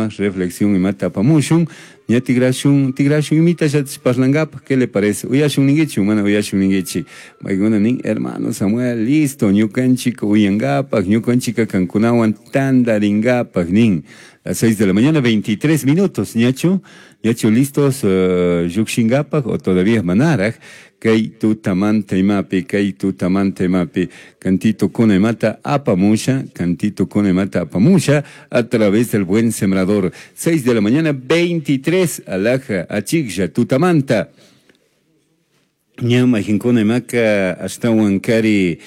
Suma reflexión imata apamushun. Ña tigrashun, tigrashun imitallatash parlangapaj, ¿qué le parece? Uyashun ninguichi, mana uyashun ninguichi. Maykuna nin, hermano Samuel, listo, ñukanchik uyangapaj, ñukanchika kankunawan tandaringapaj nin. Las 6 de la mañana, 23 minutos, ñachu, ñachu listos llukshingapak o todavía manaraj, kay tutamanta imapi, kay tutamanta imapi, cantito kuna imata apamusha, cantito kuna imata apamusha, a través del buen sembrador. 6 de la mañana, 23, alaja, achiklla, tutamanta. Ña mayqinkuna imaka ashtawan kari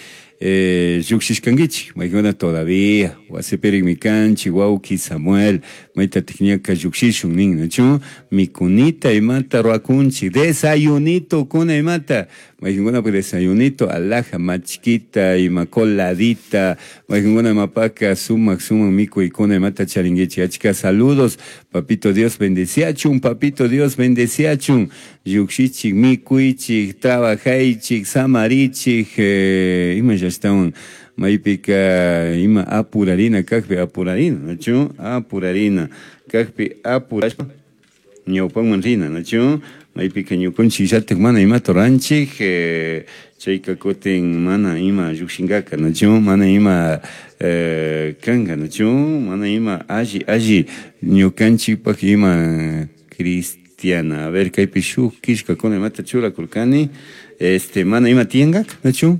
llukshishkankichik, maykuna todavía wasipirikmi kanchik, wawki Samuel, maytatik ñaka llukshishun nin, nachu? Mikunita imata ruwakunchik, desayunito kuna imata, mayqinkunapak desayunito alaja, machkita, ima coladita, mayqinkuna imapaka sumak sumak mikuykuna imata charinkichik. Achka saludos, papito Dios bendeciachun, papito Dios bendeciachun, llukshichik, mikuychik, trabajaychik, samarichik, ima llashtawan maypika ima apurarina kakpi apurarina, nachu? Apurarina kakpi apurashpa ñawpanman rina, nachu? Maypika ñukanchik llatak mana imata ruranchik, chayka kutin mana ima llukshinkaka, nachu? Mana ima kanka, nachu? Mana ima alli, alli ñukanchikpak ima cristiana. A ver, kaypi shuk killkakuna imata churakurkani, mana ima tiyankaka, nachu?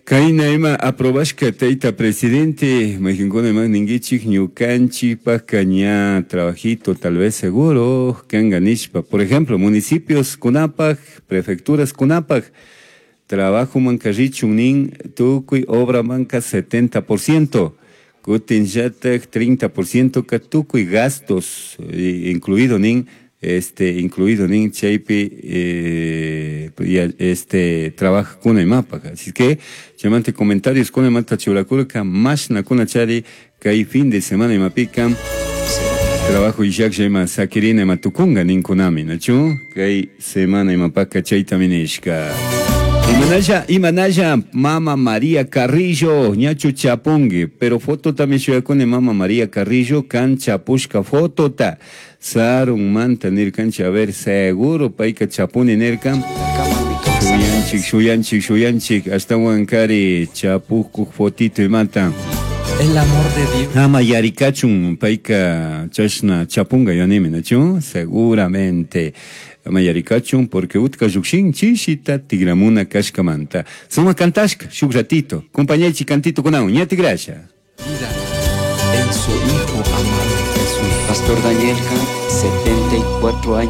Kayna ima aprobashka tayta presidente, mayqinkuna ima ninkichik ñukanchikpaka ña trabajito tal vez seguro kanka nishpa. Por ejemplo, municipios kunapak, prefecturas kunapak, trabajo manka richun nin tukuy obra manka 70%, kutin llatak 30% ka tukuy gastos, incluido nin, incluido nin chaypi, ya, trabaja kuna imapaj. Así que, chaymanta comentarios kuna imata churakurka, mashna kuna chari, kay fin de semana imapika, trabajo illaklla ima sakirina ima tukunga ninkunami, nachu? Kay semana imapaka chaytami nishka. Imanalla, imanalla, Mama María Carrillo, ñachu chapungi, pero foto también shuyakuni Mama María Carrillo, kan chapushka fotota, sarun manta nirkanchi, a ver, seguro payka chapuni nirkan. Shuyanchik, shuyanchik, shuyanchik, ashtawan kari chapukuk fotito imata. El amor de Dios. Ama yarikachun, payka chashna chapunga yanimi, nachu? Seguramente. Ama yarikachun, porque utka llukshin chishita tigramuna kashkamanta. Suma kantashka, shuk ratito. Compañechi cantito kunawan, ña tigrasha. Vida en su Hijo amado Jesús. Pastor Daniel, 74 años.